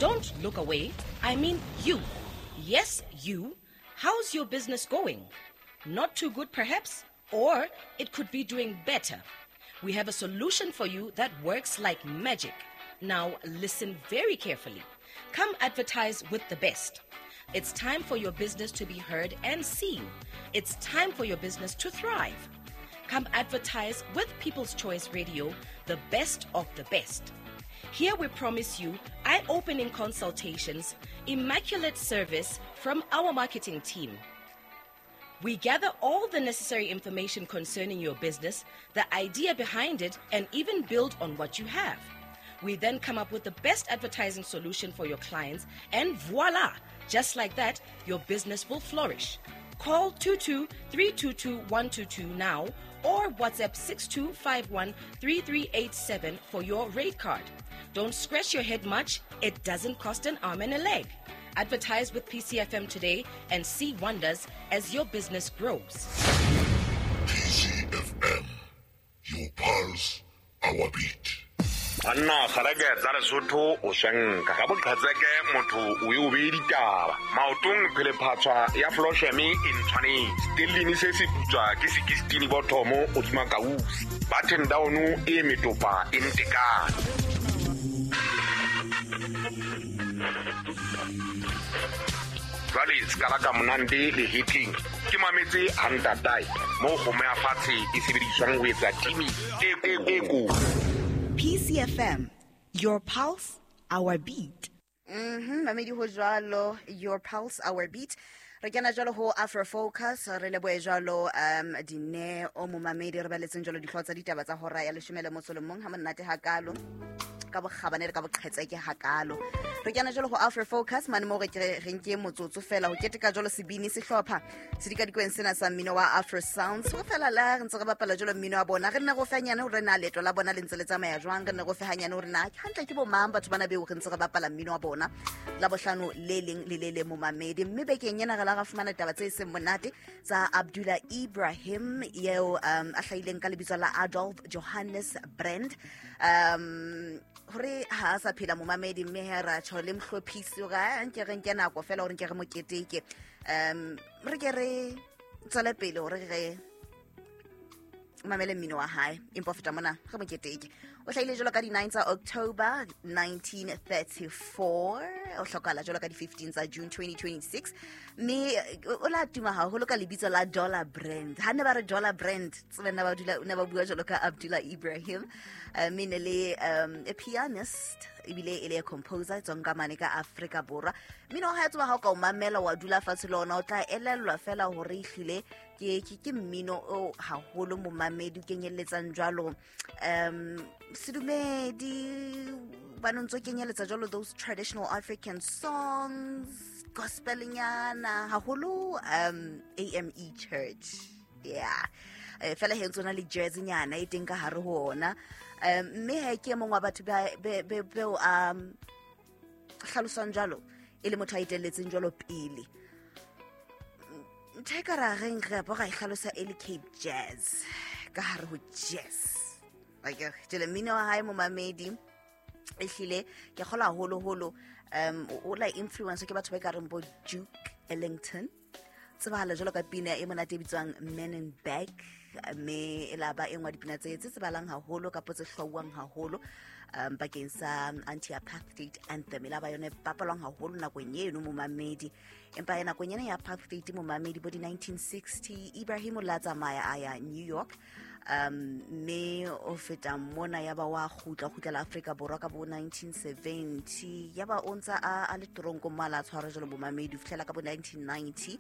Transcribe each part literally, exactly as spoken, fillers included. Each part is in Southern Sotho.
Don't look away. I mean you. Yes, you. How's your business going? Not too good, perhaps? Or it could be doing better. We have a solution for you that works like magic. Now, listen very carefully. Come advertise with the best. It's time for your business to be heard and seen. It's time for your business to thrive. Come advertise with People's Choice Radio, the best of the best. Here we promise you eye-opening consultations, immaculate service from our marketing team. We gather all the necessary information concerning your business, the idea behind it, and even build on what you have. We then come up with the best advertising solution for your clients, and voila! Just like that, your business will flourish. Call two two three two two one two two now or WhatsApp six two five one three three eight seven for your rate card. Don't scratch your head much. It doesn't cost an arm and a leg. Advertise with P C F M today and see wonders as your business grows. P C F M, your pulse, our beat. Anna kgareke tsa Lesotho o shanka ka boqhetseke motho o e o be ditaba maotong phelephatswa ya Flosheme e ntshwanetse stellini se se putswa ke sixteen bothomo o tsuma kausi button down e metopa e ntekane. Jwale ska ka monande le hitting ke mametse hantatai mo go me fatshe e sebediswang ho etsa timi e e ko. P C F M, your pulse, our beat. Mhm, mamedi ho jwalo, your pulse, our beat. Re kena jwalo ho Afro Focus, re lebohe jwalo um dine o momamedi re baletseng jwalo dihlooho tsa ditaba tsa hora ya leshome le motso le mong ha monate hakalo. Ka bokgabane le ka boqhetseke hakalo. Re kena jwalo ho Afro Focus mane mo re re nke motsotso fela ho keteka jwalo sebini sehlopha sedikadikweng sena sa mmino wa Afro Sounds. Ho fela la re ntse re bapala jwalo mmino wa bona, re nne go fanyane hore na leeto la bona le ntse le tsamaya jwang, re nne go fehanyane hore na hantle ke bo mang batho bana beo re ntse re bapala mmino wa bona la bohlano le leng le le le momamedi. Mme bekeng ena re la ra fumana taba tse seng monate tsa Abdullah Ibrahim eo um a hlahileng ka lebitso la Adolf Johannes Brand, um hore ha sa phela momamedi, mme he ra tjho le mohlophisi ga nke re nke nako fela hore nke re moketeke, um re ke re tswele pele hore re mamele mmino wa hae. Empa feta mona re moketeke. O hlahile jwalo ka di nine tsa October nineteen thirty-four, o hlokahala jwalo ka di fifteen tsa June twenty twenty-six, mme o la tuma haholo ka lebitso la Dollar Brand. Ha ne ba re Dollar Brand, tsebe ne ba dula ne ba bua jwalo ka Abdullah Ibrahim, mme ne le um a pianist ebile e le a composer tswang ka mane ka Afrika Borwa. Mmino wa hae tseba ha o ka o mamela wa dula fatshe le ona o tla elellwa fela hore ehlile ke ke mmino o haholo momamedi o kenyelletsang jwalo um sedumedi ba ntse kenyeletsa jwalo those traditional African songs, gospelnyana haholo, um A M E Church, yeah, fela he ntsona le jazz nyana e teng ka hare ho ona. Um mme he ke mongwe wa batho ba be be um hlalosang jwalo e le motho a itelletseng jwalo pele. Ntho e ka ra reng re bo ra e hlalosa e le Cape Jazz ka hare ho jazz. Like jele mmino wa hae momamedi ehlile ke kgola haholo holo um o la influence ke batho ba ka reng bo Duke Ellington, tsebahala jwalo ka pina e monate e bitswang Men in Black, mme e la ba e nngwe dipina tse tse tsebahalang haholo kapo tse hlwauwang haholo um bakeng sa anti-apartheid anthem, e la ba yone bapalwang haholo nakong eno momamedi. Empa ya nakong ena ya apartheid momamedi bo di nineteen sixty, Ibrahim o la tsamaya a ya New York, um mme o feta mona ya ba wa kgutla kgutlela Afrika Borwa ka bo nineteen seventy, ya ba o ntsa a le tronko mala tshwara jwalo momamedi ho fihlela ka bo nineteen ninety.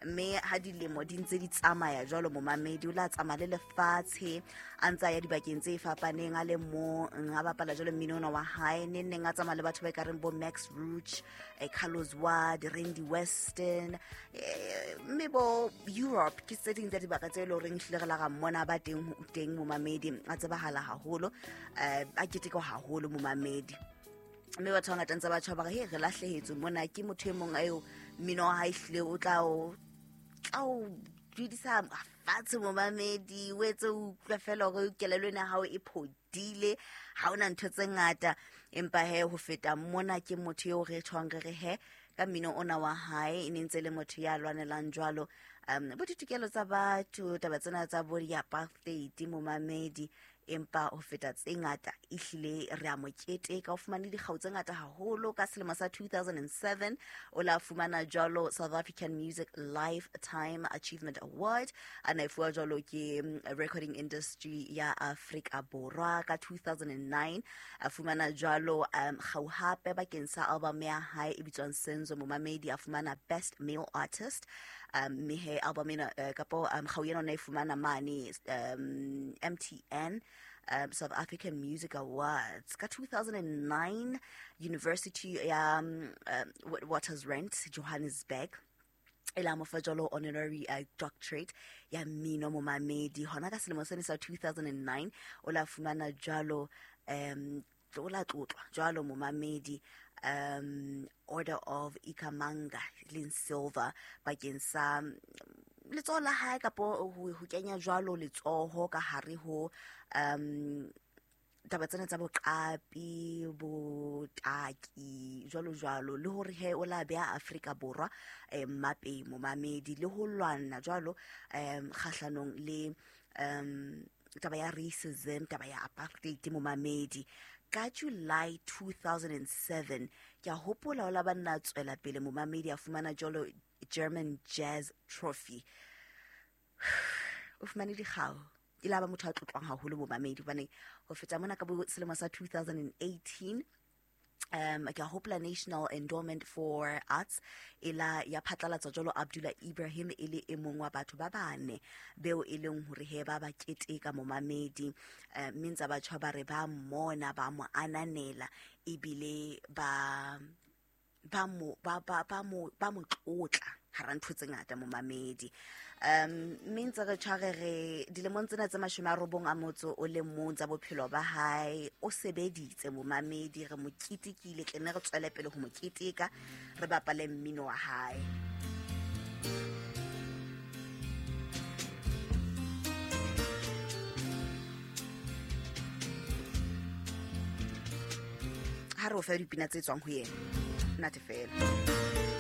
Mme ha dilemo di ntse di tsamaya jwalo momamedi o la tsamaya le lefatshe a ntsa ya dibakeng tse fapaneng a le mong a bapala jwalo mmino ona wa hae, neng neng a tsamaya le batho ba ka reng bo Max Roach, eh, Carlos Ward, Randy Weston, eh, mme bo Europe ke tse ding tsa dibaka tse le horeng hlile re la ga mmona ba teng teng momamedi a tsebahala haholo, eh, a keteka haholo momamedi. Mme batho ba ngata ntse ba tjho ba re he re lahlehetswe mona ke motho e mong eo mmino wa hae hlile o tla o tla o dudisa fatshe momamedi, o etse o utlwe fela hore kelello ena ya hao e phodile, ha ona ntho tse ngata. Empa he ho feta mona ke motho eo re tshwang re re he ka mmino ona wa hae e ne ntse le motho ya lwanelang jwalo um bo ditokelo tsa batho, taba tsena tsa bo di-apartheid momamedi. Empa ho feta tse ngata ehlile re a mo keteka, o fumane dikgau tse ngata haholo. Ka selemo sa two thousand seven o la fumana jwalo South African Music Lifetime Achievement Award, a na e fuwa jwalo ke Recording Industry ya Afrika Borwa. Ka two thousand nine a fumana jwalo um kgau hape bakeng sa album ya hae e bitswang Senzo momamedi, a fumana Best Male Artist. Um mme he album ena uh, kapo um kgau ena o na e fumana mane um M T N um, South African Music Awards. Ka two thousand nine University ya um, um, Witwatersrand Johannesburg e la mo fa jwalo honorary uh, doctorate ya mmino momamedi. Hona ka selemo sene sa two thousand nine o la fumana jwalo um o la tlotlwa jwalo momamedi um Order of Ikamanga leng silver bakeng sa letsoho la hae kapo ho kenya jwalo letsoho ka hare ho um taba tsena tsa boqapi, botaki jwalo jwalo, le hore he o la beha Afrika Borwa eh mmapeng momamedi, le ho lwana jwalo um kgahlanong le um taba ya racism, taba ya apartheid momamedi. Ka July two thousand seven ke a hopola o la banna tswela pele momamedi, a fumana jwalo German Jazz Trophy. O fumane dikgau, e la ba motho a tlotlwang haholo momamedi, hobane ho feta mona ka bo selemo sa two thousand eighteen um ke a hopola National Endowment for Arts e la ya phatlalatsa jwalo Abdullah Ibrahim e le e mong wa batho ba bane beo e leng hore he ba ba keteka momamedi, mme ntse batho ba re ba mmona, ba mo ananela, ebile ba ba mo ba ba ba mo ba mo tlotla hara ntho tse ngata momamedi. Um mme ntse re tshware re dilemong tsena tse mashome a robong a motso o le mong tsa bophelo ba hae, o sebeditse momamedi, re mo ketekile, tle ne re tswele pele ho mo keteka, re bapale mmino wa hae. Ha re o fe dipina tse tswang ho yena, nate fela.